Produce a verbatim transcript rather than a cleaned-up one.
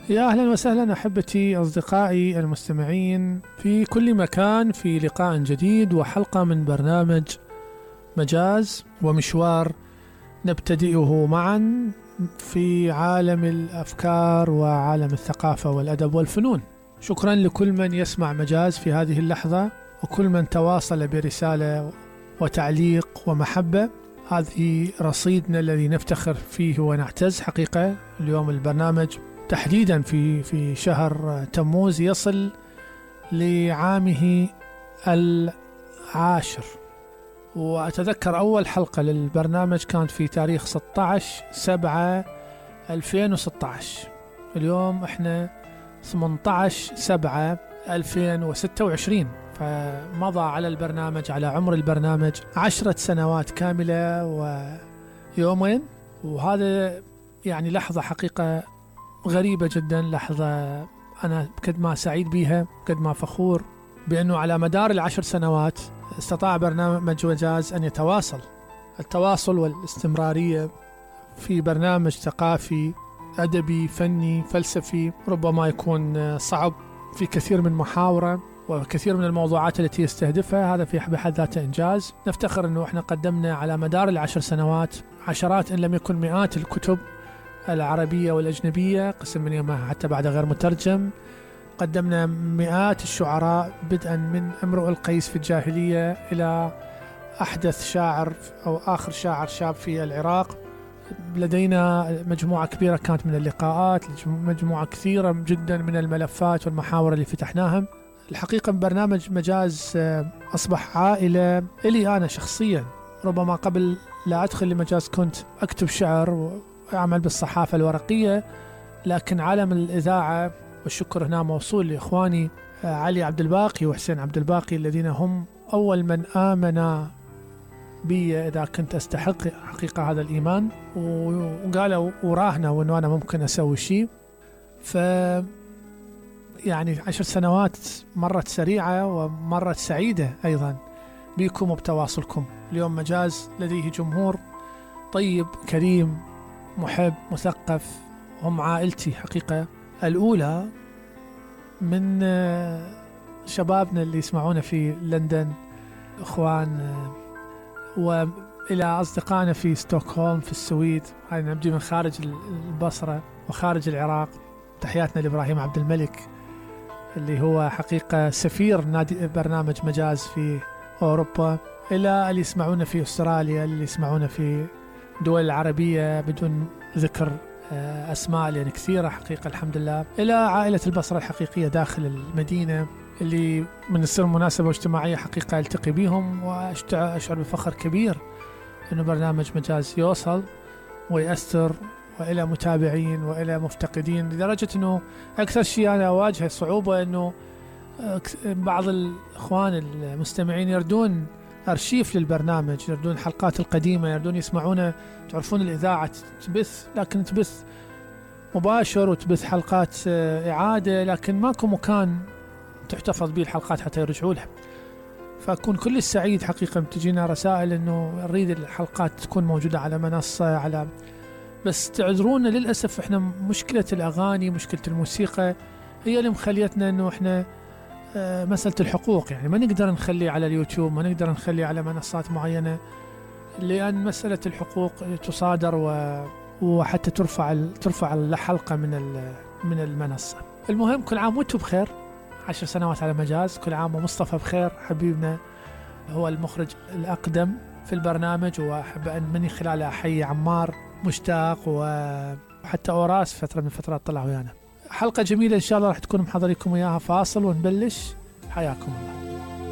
يا أهلا وسهلا أحبتي أصدقائي المستمعين في كل مكان، في لقاء جديد وحلقة من برنامج مجاز ومشوار نبتدئه معا في عالم الأفكار وعالم الثقافة والأدب والفنون. شكرا لكل من يسمع مجاز في هذه اللحظة، وكل من تواصل برسالة وتعليق ومحبة. هذه رصيدنا الذي نفتخر فيه ونعتز حقيقة. اليوم البرنامج تحديدا في في شهر تموز يصل لعامه العاشر، وأتذكر أول حلقة للبرنامج كانت في تاريخ ستة عشر سبعة ألفين وستة عشر. اليوم احنا ثمانية عشر سبعة ألفين وستة وعشرين، فمضى على البرنامج، على عمر البرنامج عشرة سنوات كاملة ويومين. وهذا يعني لحظة حقيقة غريبة جدا، لحظة أنا قد ما سعيد بها، قد ما فخور بأنه على مدار العشر سنوات استطاع برنامج مجاز أن يتواصل. التواصل والاستمرارية في برنامج ثقافي أدبي فني فلسفي ربما يكون صعب في كثير من محاوره وكثير من الموضوعات التي يستهدفها، هذا في بحد ذاته إنجاز. نفتخر أنه إحنا قدمنا على مدار العشر سنوات عشرات إن لم يكن مئات الكتب العربية والأجنبية، قسم منها حتى بعد غير مترجم. قدمنا مئات الشعراء بدءا من امرؤ القيس في الجاهلية إلى أحدث شاعر أو آخر شاعر شاب في العراق. لدينا مجموعة كبيرة كانت من اللقاءات، مجموعة كثيرة جدا من الملفات والمحاور اللي فتحناها. الحقيقة برنامج مجاز أصبح عائلة إلي أنا شخصيا. ربما قبل لا أدخل لمجاز كنت أكتب شعر وأعمل بالصحافة الورقية، لكن عالم الإذاعة، والشكر هنا موصول لإخواني علي عبد الباقي وحسين عبد الباقي الذين هم أول من آمنا بي إذا كنت أستحق حقيقة هذا الإيمان، وقالوا وراهنا وأنه أنا ممكن أسوي شيء. ف يعني عشر سنوات مرت سريعة ومرت سعيدة أيضا بكم وبتواصلكم. اليوم مجاز لديه جمهور طيب كريم محب مثقف، هم عائلتي حقيقة الأولى، من شبابنا اللي يسمعونا في لندن، إخوان، وإلى أصدقائنا في ستوكهولم في السويد. هاي نبدي من خارج البصرة وخارج العراق. تحياتنا لإبراهيم عبد الملك اللي هو حقيقة سفير نادي برنامج مجاز في أوروبا، إلى اللي يسمعونا في أستراليا، اللي يسمعونا في دول العربية بدون ذكر أسماء لأن كثيرة حقيقة الحمد لله، إلى عائلة البصرة الحقيقية داخل المدينة اللي من يصير مناسبة اجتماعية حقيقة التقي بهم، وأشعر بفخر كبير أنه برنامج مجاز يوصل ويأثر، وإلى متابعين وإلى مفتقدين، لدرجة أنه أكثر شيء أنا أواجه صعوبة أنه بعض الإخوان المستمعين يردون أرشيف للبرنامج، يردون حلقات القديمة، يردون يسمعون. تعرفون الإذاعة تبث، لكن تبث مباشر وتبث حلقات إعادة، لكن ماكو مكان تحتفظ به الحلقات حتى يرجعوا لها. فأكون كل السعيد حقيقة تجينا رسائل أنه نريد الحلقات تكون موجودة على منصة، على بس تعذرونا للأسف إحنا مشكلة الأغاني، مشكلة الموسيقى هي اللي مخليتنا أنه إحنا مسألة الحقوق، يعني ما نقدر نخلي على اليوتيوب، ما نقدر نخلي على منصات معينة، لأن مسألة الحقوق تصادر و وحتى ترفع ترفع الحلقة من من المنصة. المهم كل عام وانتم بخير، عشر سنوات على مجاز، كل عام ومصطفى بخير حبيبنا، هو المخرج الأقدم في البرنامج، وأحب أن مني خلاله أحيي عمار مشتاق وحتى أوراس فترة من فترات طلعوا ويانا. حلقة جميلة إن شاء الله راح تكون محضريكم إياها. فاصل ونبلش، حياكم الله.